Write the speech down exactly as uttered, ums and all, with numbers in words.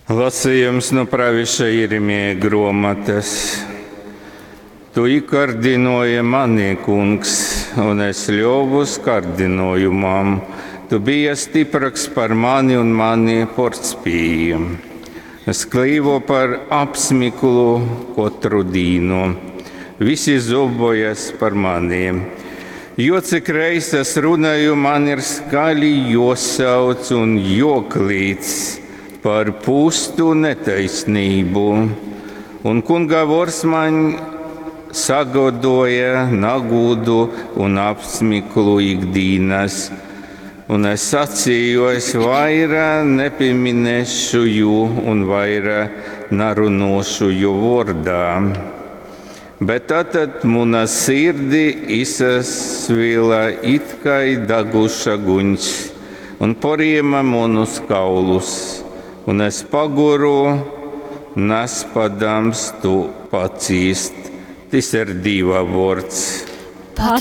Lasījums nu pravieša Jeremija gruomotas. Tu īkardinoji mani, kungs, un es ļovus kardinojumam. Tu biji stiprāks par mani un mani portspīji. Es klīvu par apsmiklu katru dīnu. Visi zobojas par mani. Jo cik reiz es runāju, man ir skaļi josauc un joklīdz par pustu netaisnību. Un kunga vors man sagodoja nagūdu un apsmiklu ikdīnas. Un es sacīju, es vaira nepieminēšu jū un vaira narunošu jū vārdā. Bet tad muna sirdi izsvila it kā daguša guņs un poriema manus kaulus, un es paguru, nespadams tu pacīst. Tas ir Dieva vārds.